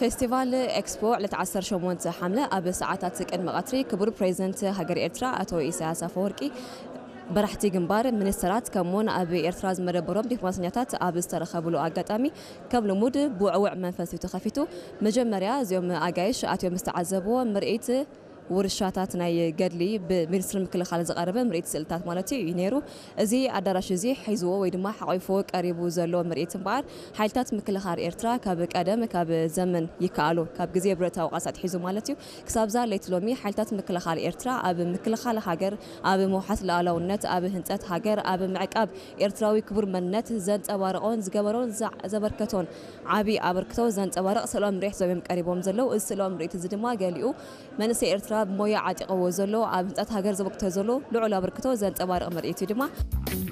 ፌስቲቫል ኤክስፖ ዕለት ዓሰርተ ሸሞንተ ሓምለ ኣብ ሰዓታት ቅድሚ ቀትሪ ክቡር ፕሬዚደንት ሃገር ኤርትራ ኣቶ ኢሳያስ ኣፈወርቂ፣ መራሕቲ ግንባር፣ ሚኒስተራት፣ ከምኡውን ኣብ ኤርትራ ዝመደበሮም ዲፕሎማሰኛታት ኣብ ዝተረኸብሉ ኣጋጣሚ፣ ከም ልሙድ ብውዕውዕ መንፈስ እዩ ተኸፊቱ። መጀመርያ እዚኦም ኣጋይሽ ኣትዮም ዝተዓዘብዎ ምርኢት ውርሻታት ናይ ገድሊ ብሚኒስትሪ ምክልኻል ዝቐረበ ምርኢት ስእልታት ማለት እዩ ነይሩ። እዚ ኣዳራሽ እዚ ሒዝዎ ወይ ድማ ሓቒፉ ቀሪቡ ዘሎ ምርኢት እምበኣር፣ ሓይልታት ምክልኻል ኤርትራ ካብ ቀደም ካብ ዘመን ይከኣሉ፣ ካብ ግዜ ብረታዊ ቃልሲ ኣትሒዙ ማለት እዩ፣ ክሳብዛ ለይቲ ሎሚ ሓይልታት ምክልኻል ኤርትራ ኣብ ምክልኻል ሃገር፣ ኣብ ምውሓስ ሉዓላውነት፣ ኣብ ህንጸት ሃገር፣ ኣብ ምዕቃብ ኤርትራዊ ክቡር መንነት ዘንጸባረቖን ዝገበሮን ዘ-፣ ዘበርከቶን ዓቢ ኣበርክቶ ዘንጸባርቕ ስእላዊ ምርኢት እዮም ቀሪቦም ዘለዉ። እዚ ስእላዊ ምርኢት እዚ ድማ ገሊኡ መንእሰይ ኤርትራ ብሞያ ዓጢቕዎ ዘሎ፣ ኣብ ህንጸት ሃገር ዘበርክቶ ዘሎ ልዑል ኣበርክቶ ዘንጸባርቕ ምርኢት እዩ ድማ።